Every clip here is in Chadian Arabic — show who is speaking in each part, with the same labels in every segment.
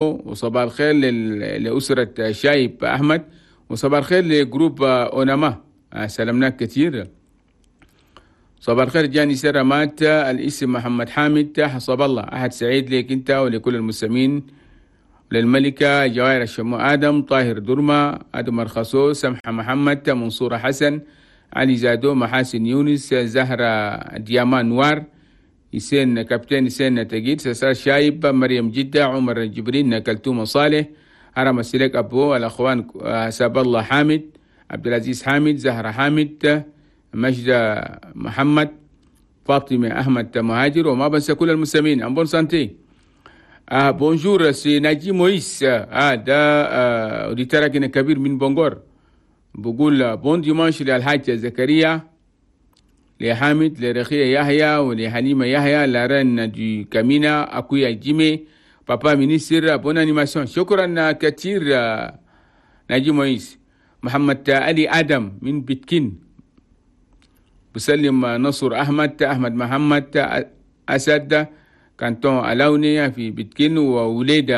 Speaker 1: وصباح الخير لأسرة شايب أحمد، وصباح الخير ل groupe أوناما، سلمناك كثير. صباح الخير جاني سرمات، الاسم محمد حامد حسب الله، أحد سعيد لك أنت ولكل المستمعين، للملكة جواهر الشمو آدم، طاهر درما، آدم مرخصو، سمحة محمد، منصورة حسن، علي زادو، محاسن يونس، زهرة ديامان نوار، يسين كابتن يسين تجيد، سسار شايب، مريم جدة، عمر جبرين، كلتوم صالح، هرم السلك أبو، الأخوان ساب الله حامد، عبد العزيز حامد، زهرة حامد، مجدة محمد، فاطمة أحمد مهاجر، وما بنسى كل المستمعين. en bonne santé. Bonjour, c'est ناجي مويس، ده auditeur كبير من بونغور، بقول bon dimanche للحاج زكريا، لحامد، لرخية يحيى، ولحليمة يحيى، la reine du Kamina، أكويا جيمي، papa ministre، bonne animation. شكرا كثير ناجي مويس. محمد علي آدم من بيتكين بسلم، نصر أحمد، أحمد محمد أسد، canton ألاوني في بيتكين، ووليد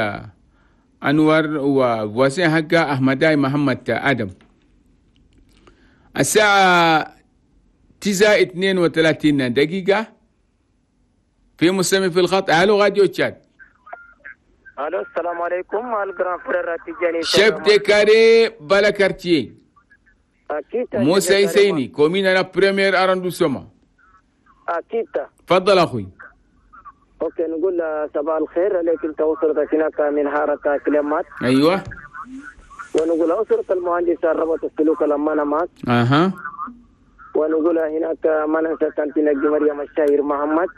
Speaker 1: أنور، و voisin حقا أحمداي محمد آدم. الساعة 9:32، في مستمع في الخط. الو راديو تشاد.
Speaker 2: الو، السلام عليكم ال grand frère تيجاني.
Speaker 1: chef de carré بالا quartier.
Speaker 2: اكيد.
Speaker 1: موسى يسيني، commune la premier arrondissement.
Speaker 2: اكيد.
Speaker 1: تفضل اخوي.
Speaker 2: OK، نقول صباح الخير عليك انت واسرتك هناك من حارة كلمات. ونقول اسرة المهندس ربط السلوك لما معك. ونقول هناك ما ننسى tantine مريم الشاير محمد.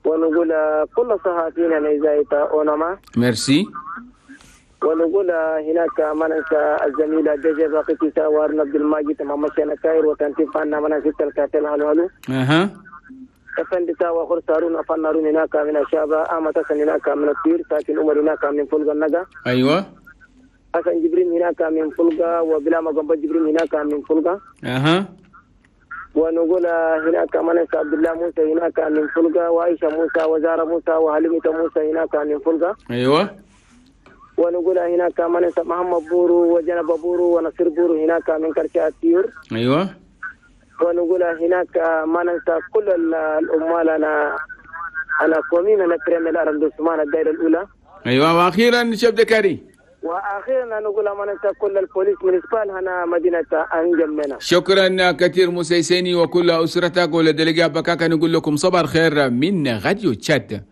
Speaker 2: ونقول كل صحفيين إذاعة أونما.
Speaker 1: ميرسي.
Speaker 2: ونقول هناك ما ننسى الزميلة جيجي باقي تيسا وارن عبد الماجد محمد شنكاير وتنتي فانا ما ننسى الكاتل هلو هلو. افندي تاوا خرسارون افنارون هناك من الشابة، أحمد حسن هناك من الطير، ساكن عمر هناك من فلقة النجا. حسن جبرين هناك من فلقة، وبلا مقنبة جبرين هناك من فلقة. ونقول هناك ما ننسى عبد الله موسى هناك من فلقة، وعائشة موسى، وزارة موسى، وحليمة موسى هناك من فلقة. ونقول هناك ما ننسى محمد بورو وجنب بورو ونصير بورو هناك من كرشة الطيور. ونقول هناك ما ننسى كل الأمال أنا commune أنا premier arrondissement الدائرة الأولى.
Speaker 1: واخيرا chef de carré.
Speaker 2: واخيرا نقول ما ننسى كل ال police municipale هنا مدينة انجمنا.
Speaker 1: شكرا كثير موسى يسيني وكل اسرتك ول délégué بكاكا. نقول لكم صباح الخير من راديو تشاد.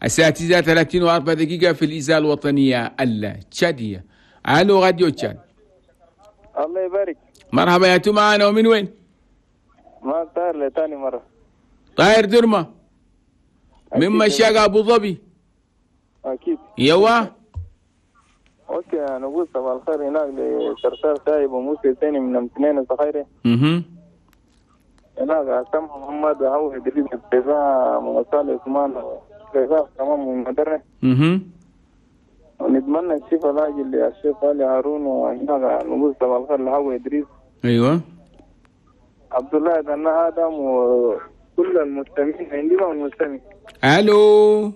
Speaker 1: الساعة 9:34 في الإذاعة الوطنية التشادية. الو راديو تشاد.
Speaker 3: الله يبارك.
Speaker 1: مرحبا يا معنا ومن وين؟
Speaker 3: ما طاهر لتاني مرة.
Speaker 1: طاهر درما من مشاق أبو ظبي.
Speaker 3: أكيد.
Speaker 1: يوا.
Speaker 3: OK، نقول صباح الخير هناك لسرسار شايب وموسى ثاني من امتنين الصخيري. هناك عصام محمد وهو إدريس البيضاء وصالح عثمان البيضاء كمان من مدرة. ونتمنى الشيخ الراجل للشيخ علي هارون، وهناك نقول صباح الخير لهو إدريس. عبد الله بن آدم وكل المستمعين عندي والمستمعين.
Speaker 1: الو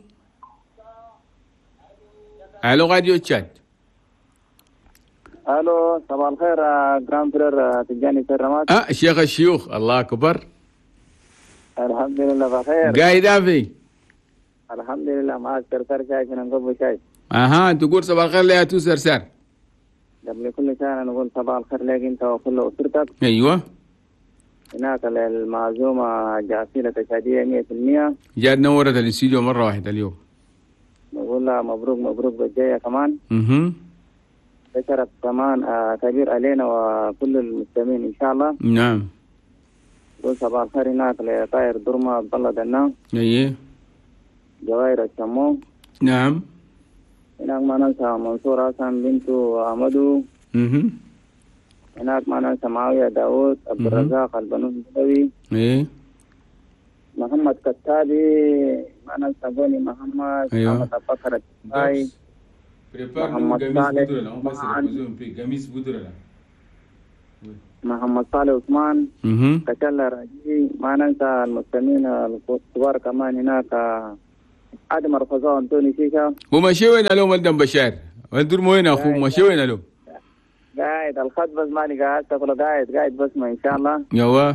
Speaker 1: الو راديو تشاد.
Speaker 3: الو صباح الخير grand frère تجاني سرمات.
Speaker 1: شيخ الشيوخ، الله اكبر.
Speaker 3: الحمد لله بخير.
Speaker 1: قايد افي.
Speaker 3: الحمد لله، معك سرسار شاي من نقب شاي.
Speaker 1: تقول صباح الخير ليا تو سرسار.
Speaker 3: قبل كل شيء انا نقول صباح الخير لك انت وكل اسرتك. هناك للمعزومة جاسيلة تشادية 100%.
Speaker 1: جاد نورت الاستديو مرة واحدة اليوم.
Speaker 3: نقول لها مبروك مبروك بالجاية كمان. بشرف كمان كبير علينا وكل المستمعين إن شاء الله.
Speaker 1: نعم.
Speaker 3: نقول صباح الخير هناك لطاير درما عبد الله دنا. جواهر الشمو.
Speaker 1: نعم.
Speaker 3: هناك ما ننسى منصور حسن بنته أحمدو. هناك ما ننسى معاوية داوود، عبد الرزاق البنون البدوي. محمد كتابي، ما ننسى بوني محمد. محمد أبو بكر التاي، محمد صالح، محمد صالح عثمان، كتلا راجي. ما ننسى المستمعين الكبار كمان هناك. آدم الرفزاء أنتوني شيشة.
Speaker 1: ومشي وين اليوم ولدن بشار؟ ولدر وين أخو مشي وين اليوم؟
Speaker 3: قاعد الخط بس ماني قاعد تقول قاعد بس ما إن شاء الله.
Speaker 1: يوا.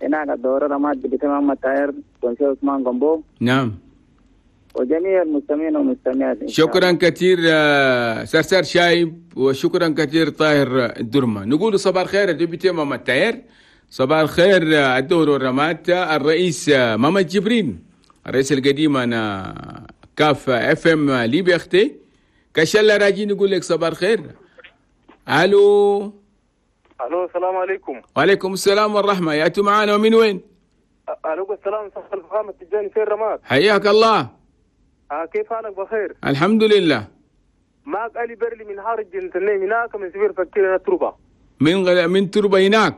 Speaker 3: هناك الدورة رماد بتمام التاير كونسي عثمان قنبو.
Speaker 1: نعم.
Speaker 3: وجميع المستمعين والمستمعات.
Speaker 1: شكرا كثير سرسار شايب، وشكرا كثير طاهر الدرمة. نقول صباح الخير député ماما التاير، صباح الخير الدور الرمات الرئيس ماما جبرين الرئيس القديم انا كاف اف ام ليبيا اختي كشلة راجين. نقول لك صباح الخير. الو
Speaker 2: الو، السلام عليكم.
Speaker 1: وعليكم السلام والرحمة، ياتوا معانا ومن وين؟
Speaker 2: الو السلام، صاحب الفخامة التجاني في الرماد.
Speaker 1: حياك الله.
Speaker 2: كيف حالك؟ بخير
Speaker 1: الحمد لله.
Speaker 2: معك علي برلي من حارج جنتنين هناك من سفير فكير تربة.
Speaker 1: من تربة هناك؟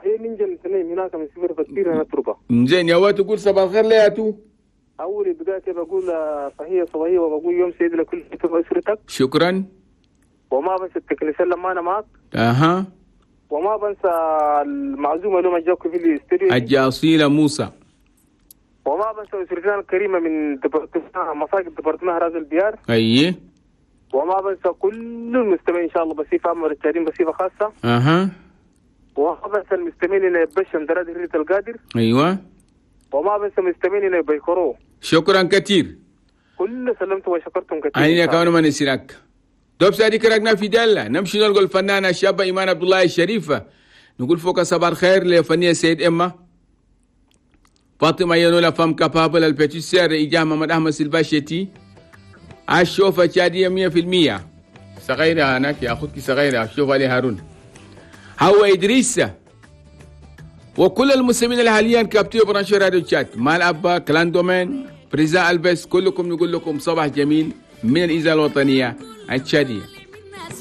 Speaker 2: هي من جنتنين هناك من سفير فكير تربة.
Speaker 1: زين يا وات تقول صباح الخير لياتو.
Speaker 2: أول بداية بقول صحية صباحية وبقول يوم سيد لكل أسرتك.
Speaker 1: شكرا.
Speaker 2: وما بنسى التكنيسيان لما أنا معك.
Speaker 1: أها.
Speaker 2: وما بنسى المعزومة لما جاكو في الاستوديو
Speaker 1: الجاصيلة موسى.
Speaker 2: وما بنسى أسرتنا الكريمة من مساجد ديبارتمان راز الديار.
Speaker 1: أيه.
Speaker 2: وما بنسى كل المستمعين إن شاء الله بصفة عامة والتعليم بصفة خاصة.
Speaker 1: أها.
Speaker 2: وما بنسى المستمعين اللي يبشم دراد هرية القادر.
Speaker 1: أيوة.
Speaker 2: وما بنسى المستمعين اللي بيكروه.
Speaker 1: شكرا كثير.
Speaker 2: كل سلمت وشكرتم كثير.
Speaker 1: أنا كمان ما نسيناك. دوب سادي كرقنا في دالة نمشي نلقى الفنانة الشابة إيمان عبد الله الشريفة. نقول فوق صباح الخير لفنية سيد إما فاطمة ينولا فام كابابل البتيسير إجاه محمد أحمد سلباشيتي الشوفة شادية 100% صغيرة هناك يا أخوتك صغيرة الشوفة علي هارون هو إدريس وكل المسلمين اللي حاليا كابتيو برانشو راديو تشات مال أبا كلان دومين بريزا ألبس كلكم نقول لكم صباح جميل من الإذاعة الوطنية التشادية.